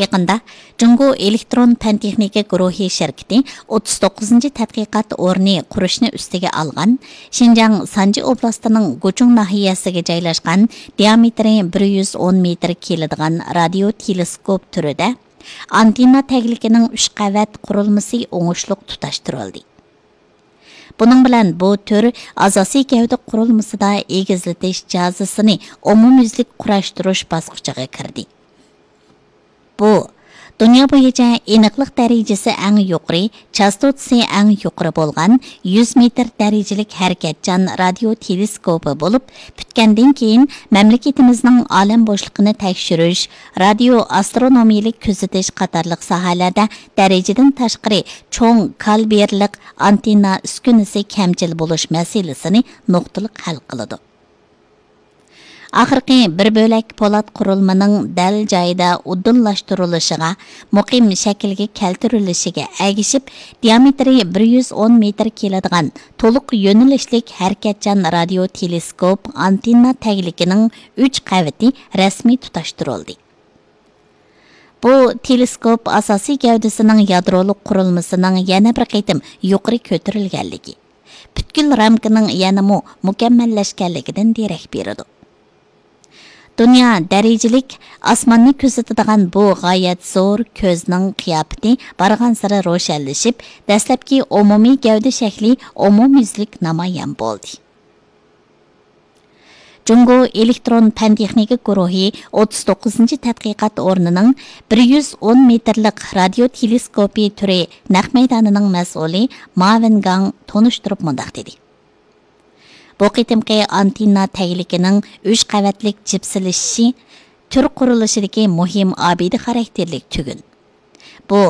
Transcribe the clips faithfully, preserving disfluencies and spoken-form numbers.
يېقىندا جۇڭگو ئېلېكترون پەن تېخنىكا گۇرۇھى شىركىتى ئوتتۇز توققۇزىنچى تەتقىقات ئورنى قۇرۇشنى ئۈستىگە ئالغان شىنجاڭ سانجى ئوبلاستىنىڭ گۇچۇڭ ناھىيەسىگە جايلاشقان دىئامېتىرى بىر يۈز ئون مېتىر كېلىدىغان رادىيو تېلېسكوپ تۈرىدە ئانتېننا تەگلىكىنىڭ ئۈچ قەۋەت قۇرۇلمىسى ئوڭۇشلۇق تۇتاشتۇرۇلدى. بۇنىڭ بىلەن بۇ تۈر ئاساسىي گەۋدە قۇرۇلمىسىدا ئېگىزلىتىش جازىسىنى ئومۇميۈزلۈك قۇراشتۇرۇش باسقۇچىغا كىردى. بۇ، دۇنيا بويىچە ئېنىقلىق دەرىجىسى ئەڭ يۇقىرى، چاستوتىسى ئەڭ يۇقىرى بولغان يۈز مېتىر دەرىجىلىك ھەرىكەتچان رادىيو تېلېسكوپى بولۇپ، پۈتكەندىن كېيىن مەملىكىتىمىزنىڭ ئالەم بوشلۇقىنى تەكشۈرۈش، رادىيو ئاسترونومىيىلىك كۆزىتىش قاتارلىق ساھەلەردە دەرىجىدىن تاشقىرى چوڭ كالىبىرلىق ئانتېننا ئۈسكۈنىسى كەمچىل بولۇش مەسىلىسىنى نۇقتىلىق ھەل قىلىدۇ. ئاخىرقى بىر بۆلەك پولات قۇرۇلمىنىڭ دەل جايىدا ئۇدۇللاشتۇرۇلۇشىغا، مۇقىم شەكىلگە كەلتۈرۈلۈشىگە ئەگىشىپ، دىئامېتىرى بىر يۈز ئون مېتىر كېلىدىغان تولۇق يۆنىلىشلىك ھەرىكەتچان رادىيو تېلېسكوپ ئانتېننا تەگلىكىنىڭ ئۈچ قەۋىتى رەسمىي تۇتاشتۇرۇلدى. بۇ تېلېسكوپ ئاساسىي گەۋدىسىنىڭ يادرولۇق قۇرۇلمىسىنىڭ يەنە بىر قېتىم يۇقىرى كۆتۈرۈلگەنلىكى، پۈتكۈل رامكىنىڭ يەنىمۇ مۇكەممەللەشكەنلىكىدىن دېرەك بېرىدۇ. دۇنيا دەرىجىلىك ئاسماننى كۆزىتىدىغان بۇ غايەت زور كۆزنىڭ قىياپىتى بارغانسېرى روشەنلىشىپ، دەسلەپكى ئومۇمىي گەۋدە شەكلى ئومۇميۈزلۈك نامايان بولدى. جۇڭگو ئېلېكترون پەن تېخنىكا گۇرۇھى ئوتتۇز توققۇزىنچى تەتقىقات ئورنىنىڭ بىر يۈز ئون مېتىرلىق رادىيو تېلېسكوپى تۈرى نەق مەيدانىنىڭ مەسئۇلى ما ۋېنگاڭ تونۇشتۇرۇپ مۇنداق دېدى: بۇ قېتىمقى ئانتېننا تەگلىكىنىڭ ئۈچ قەۋەتلىك جىپسىلىشىشى تۈر قۇرۇلۇشىدىكى مۇھىم ئابىدە خاراكتېرلىك تۈگۈن. بۇ،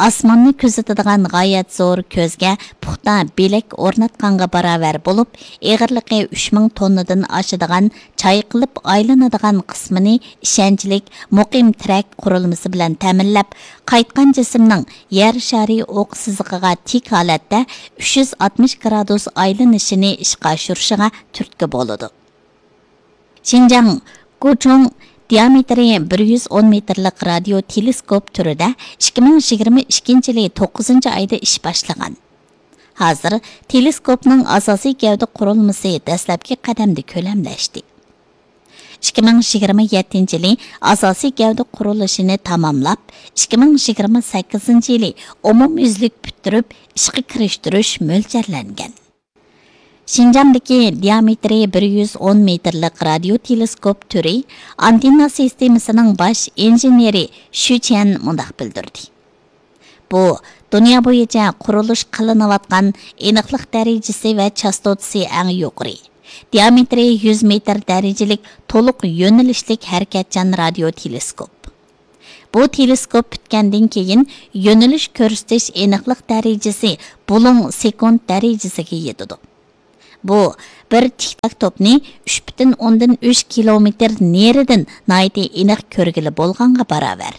ئاسماننى كۆزىتىدىغان غايەت زور كۆزگە پۇختا بىلەك ئورناتقانغا باراۋەر بولۇپ، ئېغىرلىقى ئۈچ مىڭ توننىدىن ئاشىدىغان چايقىلىپ ئايلىنىدىغان قىسمىنى ئىشەنچلىك، مۇقىم تىرەك قۇرۇلمىسى بىلەن تەمىنلەپ، قايتقان جىسىمنىڭ يەر شارى ئوق سىزىقىغا تىك ھالەتتە ئۈچ يۈز ئاتمىش گرادۇس ئايلىنىشىنى ئىشقا ئاشۇرۇشىغا تۈرتكە بولىدۇ. شىنجاڭ گۇچۇڭ دىئامېتىرى بىر يۈز ئون مېتىرلىق رادىيو تېلېسكوپ تۈرىدە ئىككى مىڭ يىگىرمە ئىككىنچى يىلى توققۇزىنچى ئايدا ئىش باشلىغان. ھازىر تېلېسكوپنىڭ ئاساسىي گەۋدە قۇرۇلمىسى دەسلەپكى قەدەمدە كۆلەملەشتى. ئىككى مىڭ يىگىرمە يەتتىنچى يىلى ئاساسىي گەۋدە قۇرۇلۇشىنى تاماملاپ، ئىككى مىڭ يىگىرمە سەككىزىنچى يىلى ئومۇميۈزلۈك پۈتتۈرۈپ، ئىشقا كىرىشتۈرۈش مۆلچەرلەنگەن. شىنجاڭدىكى دىئامېتىرى بىر يۈز ئون مېتىرلىق رادىيو تېلېسكوپ تۈرى ئانتېننا سىستېمىسىنىڭ باش ئىنژېنېرى شۈ چيەن مۇنداق بىلدۈردى: بۇ، دۇنيا بويىچە قۇرۇلۇش قىلىنىۋاتقان ئېنىقلىق دەرىجىسى ۋە چاستوتىسى ئەڭ يۇقىرى، دىئامېتىرى يۈز مېتىر دەرىجىلىك تولۇق يۆنىلىشلىك ھەرىكەتچان رادىيو تېلېسكوپ. بۇ تېلېسكوپ پۈتكەندىن كېيىن، يۆنىلىش كۆرسىتىش ئېنىقلىق دەرىجىسى بۇلۇڭ سېكۇنت دەرىجىسىگە يېتىدۇ. بۇ، بىر تىك تاك توپنى ئۈچ پۈتۈن ئوندىن ئۈچ كىلومېتىر نېرىدىن ناھايىتى ئېنىق كۆرگىلى بولغانغا باراۋەر.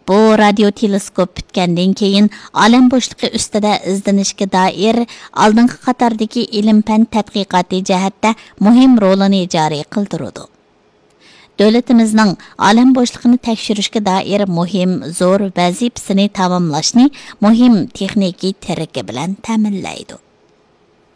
بۇ رادىيو تېلېسكوپ پۈتكەندىن كېيىن، ئالەم بوشلۇقى ئۈستىدە ئىزدىنىشكە دائىر ئالدىنقى قاتاردىكى ئىلىم-پەن تەتقىقاتى جەھەتتە مۇھىم رولىنى جارى قىلدۇرىدۇ. دۆلىتىمىزنىڭ ئالەم بوشلۇقىنى تەكشۈرۈشكە دائىر مۇھىم، زور ۋەزىپىسىنى تاماملاشنى مۇھىم تېخنىكىي تىرىكى بىلەن تەمىنلەيدۇ.